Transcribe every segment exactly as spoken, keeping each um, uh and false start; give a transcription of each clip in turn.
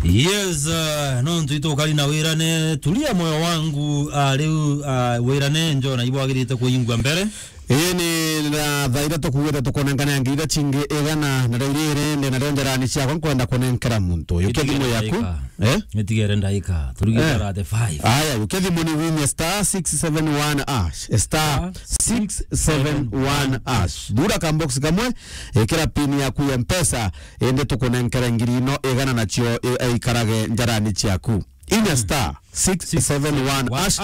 Yes, uh, no ntu itukari na wirane, tulia moyo wangu, uh, riu, uh, wirane njo na ibwagirite kuingwa mbere. Ii ni na thaa ithatu kuugite tukunenkana ngiri iria cingi igana, na riu riri ndi nario njarani ciakwa nkwenda kunenkera muntu. Yukia thimu yaku. Eh? Nitigere ndaika. Turigite Eh. thirty-five. Aya, yukia thimu ni winye star six seven one hash. Star six seven one hash. Thura ka box kamwe, ikira pin yaku ya Mpesa, indi tukunenkere ngiri ino igana nacio i-, ikarage njarani ciaku. Inya star six seven one hash.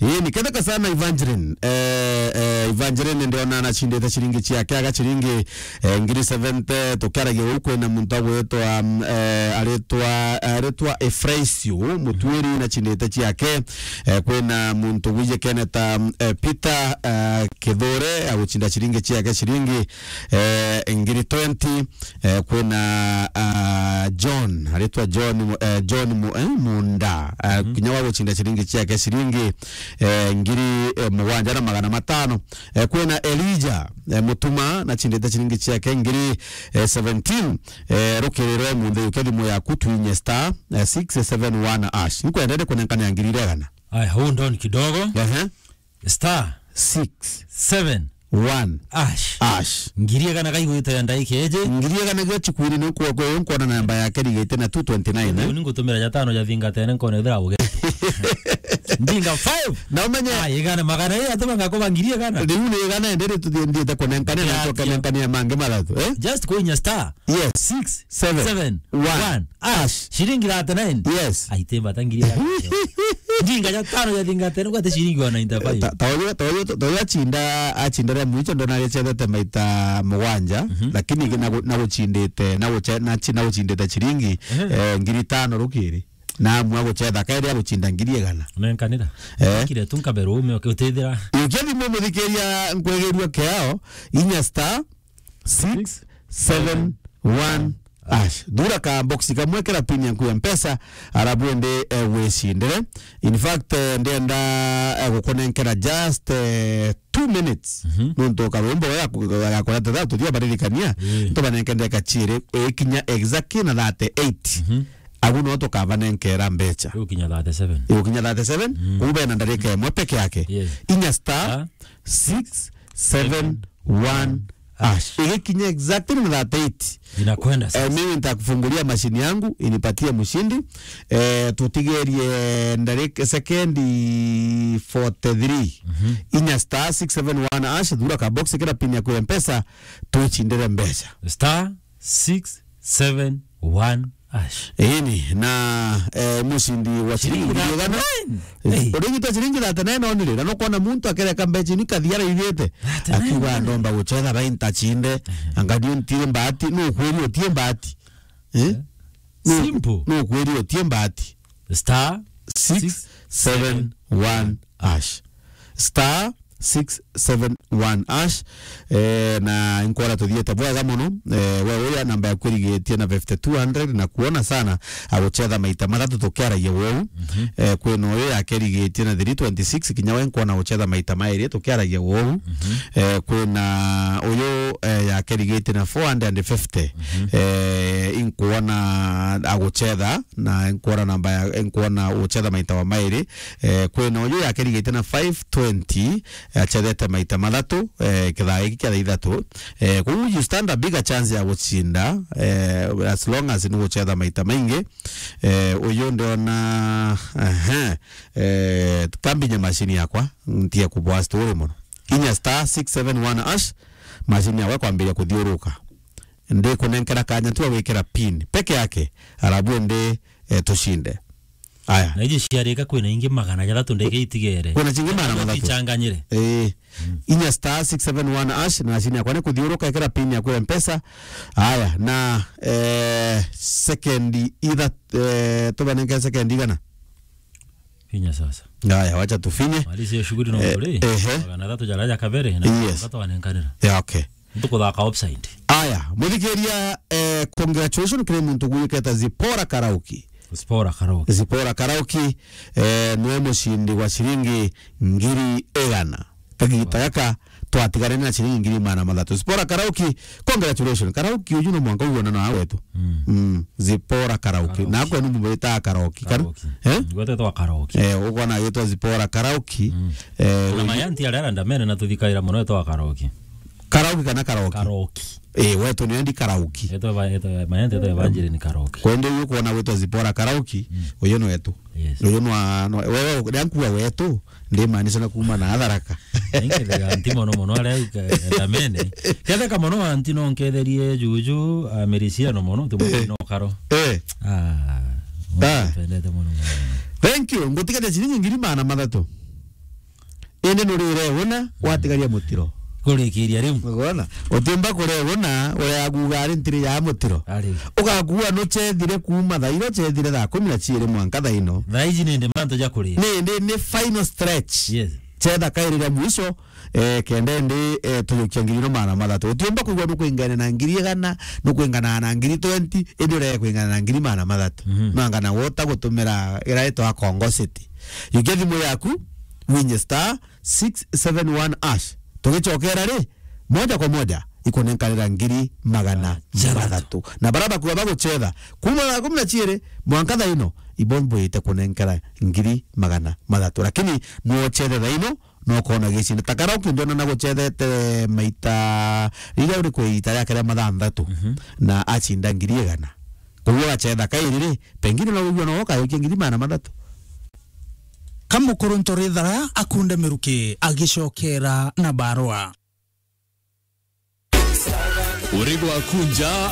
Ii, ni ketheka sana Evangeline. Eh, eh, Evangeline ndiona anacindite ciringi ciake, aga ciringi, eh, ngiri seventy. Tukiaragia uu, kwina muntu agwitwa, mm, eh, aritwa, aritwa Efraisio Mutuiri, nacindite ciake. Eh, kwina muntu wijikene ta, mm, eh, Peter, eh, Kithure, agucinda ciringi ciake ciringi, eh, ngiri twenty. Eh, kwina, ah, John, aritwa John Mu-, eh, John Mu-, eh, Munda. Eh, kinya wa gucinda ciringi ciake ciringi, eh, ngiri, eh, mugwanja na magana matano. Eh, kwina Elijah, eh, Mutuma, nacindite ciringi ciake ngiri, eh, seventeen. Eh, rukiri rwa munthe, yukia thimu yaku, twinye star, eh, six seven one hash. Nkwendete kunenkania ngiri igana. Aya, hold on kidogo. Ehe. Star six seven one hash. Hash. Ngiri igana kaigwite ya ndaika iji. Ngiri igana gio chikwiri ni kwa, kwa, nkwona namba yake rigite na two twenty nine, eh? Ni ngutumira ja tano ja thingatene nkona ithira uge. Ndinga five. Na umenye Ah, igana magana ii atuma ngakuba ngiri igana. Riu ni igana ende rituthiendete kunenkania na tukanenkania mangi mathatu, eh? Just kuinya star Yes. six seven one hash. Shilingi thirty-nine. Yes. Aite mbata ngiri ya. Ndinga ja tano ya thingatene, gwate shilingi wa ninety-five. Ta, ta uyu, ta uyu, ta uyu achinda, achinda ria mwicho ndo nari chethete maita mugwanja, Mhm. lakini na gu-, na guchindite, na guche-, na chi-, na guchindite shilingi, Ehe. eh, ngiri tano rukiri. Na amua guchetha kairi aguchinda ngiri igana. Nenkanira. Eh. Kire tu nkabero ume ukitethira. Yukia thimu muthikiria nkwegerua kiao, inya star six seven one hash. Thura ka box kamwe, kira pin yaku ya Mpesa, arabu ende, eh, wicindire. In fact, eh, ndenda, eh, gukunenkera just, eh, two minutes. Mhm. Nuntu karwimbo ya ku-, ya kureta thatu thia baririkania. Mm. Ntubanenke ndeka chiri, eh, kinya exactly na thirty-eight. Mhm. Agu no tukavanenkera mbecha. Iu kinya thirty-seven. Iu kinya thirty-seven, Mm. ube na ndarika imwe peke yake. Yes. Inya star Ah. six seven one hash. Igikinya exactly na thirty-eight. Inakwenda Eh, sasa. mimi nitakufungulia mashini yangu, inipatie mshindi. Eh, tutigerie ndarika sekendi forty-three. Mhm. Inya star six seven one hash, thura ka box kira pin yaku ya Mpesa, tuchindire mbecha. Star six seven one hash. Ini na, eh, mushindi wa shilingi Shilingi ngiri igana. thirty-nine. Eh, Hey. urigitwa shilingi thirty-nine onire, na nukwona muntu akereka mbecha ini kathiara igite. Thirty-nine Akiuga onire. ndomba guchetha bai ntachinde. Anga ndio ntire mbati, no kweli utie mbati. Eh? Eh? No, Simple. no kweli utie mbati. Star six seven one hash. Star six seven one hash. Eh, na nkwona tuthiete bwega muno. Eh, we uria namba yaku irigitie na fifty-two hundred na kuona sana aguchetha maita mathatu tukiaragia wou. Mhm. Eh, kwina uyu yake irigitie na three twenty-six, kinya we nkwona guchetha maita mairi tukiaragia wou. Mhm. Eh, kwina uyu, eh, yake irigitie na four hundred and fifty. Mhm. Eh, inkwona aguchetha na nkwona namba ya, nkwona guchetha maita wa mairi. Eh, kwina uyu yake irigitie na five twenty, achethete maita mathatu, eh, kithaa giki kia thaa ithatu. Eh, koguo you stand a bigger chance ya gucinda, eh, as long as ni guchetha maita maingi. Eh, uyu ndiona, ehe, eh, kambinya mashini yakwa, ntie kubwa story muno. Inya star six seven one hash, mashini yakwa kwambiria kuthiuruka. Ndikunenkera kanya tu gwikira pin peke yake, arabu ndi, eh, tucinde. Aya. Na iji ciarika kwina ingi magana jathatu ndeke itigere. Kwina cingi magana mathatu. Ichanganyire. Eh. Mm. Inya star six seven one hash, na mashini yakwa ni kuthiuruka, ikira pin yaku ya Mpesa. Aya, na, eh, sekendi itha-, eh, tubanenge sekendi igana. Finya sasa. Aya, wacha tufinye. Maliza hiyo shughuli na Eh, ugure. ehe. Magana thatu jara ja kabere, na Yes. wakati wanenkanira. Yeah, okay. Ntukuthaka upside. Aya, muthikiria, eh, congratulations kiri muntu gwiketa Zipora Karaoke. Zipora Karaoke. Zipora Karaoke, eh, niwe mucindi wa ciringi ngiri igana. Kagita gaka, twatigane na ciringi ngiri magana mathatu. Zipora Karauki, congratulations. Karauki uju no mwanka uona na wetu. Mm. Mm. Zipora Karauki. Karauki. Na kwenu mumwita Karauki. Kar-, Karauki. Eh? Gwetwa Karauki. Eh, ukona yetwa Zipora Karauki. Mm. Eh, kuna uju- mayanti aria arenda mene na tuthikaira muno etwa Karauki. Karauki kana Karauki? Karauki. Eh, wetu ni endi Karauki. Etwa ba-, etwa mayanti etwa Evangeline Karauki. Kwende uyu kuona wetwa Zipora Karauki, mm, uyu ni wetu. Yes. Uyu nwa, nwa, wewe, ria nkuwa wetu, ndimaanisha na kuuma na Atharaka. Ningethega nti mono mono aria au ka-, ndamene. Ketheka mono anti no nketherie juju, a, Merisiano mono, ti mono no karo. Eh. Ah. Ah. Twendete mono mono. Thank you. Ngutigate ciringi ngiri magana mathatu. Indi nurire una, watigaria mutiro. Kurikiria riu. Ukwona? Utiumba kuria una, uria aguga ari ntiri ya mutiro. Ari. Ugakua nuchethire kuuma thaa iro chethire thaa kumi na chiiri mwanka thaa ino. Thaa iji ni ndi mantu ja kuria. Ni, ni, ni final stretch. Yes. Chetha kairi ria mwisho, eh, kenda ndi, eh, tujukia ngiri no magana mathatu. Utiumba kwigua nukwingana na ngiri igana, nukwingana na ngiri twenty, indi urege kwingana na ngiri magana mathatu. Mhm. Nangana wota gutumira ira itwa Congo City. Yukia thimu yaku, winye star six seven one hash. Tugichokera ri, moja kwa moja, ikunenkanira ngiri magana mathatu. Na bara bakuga baguchetha, kuuma thaa kumi na chiiri, mwanka thaa ino, ibombo ite kunenkera ngiri magana mathatu. Lakini nuochethe thaa ino, no kona gicinda. Ta Karauki ndiona na guchethete maita, riria uri kwi ita riake ria mathanthatu, mhm, na achinda ngiri igana. Koguo agachetha kairi ri, pengine no wigua no ukayukia ngiri magana mathatu. Kamukuru Ntorithara akunde miruki agicokera na barua. Uri gwaku nja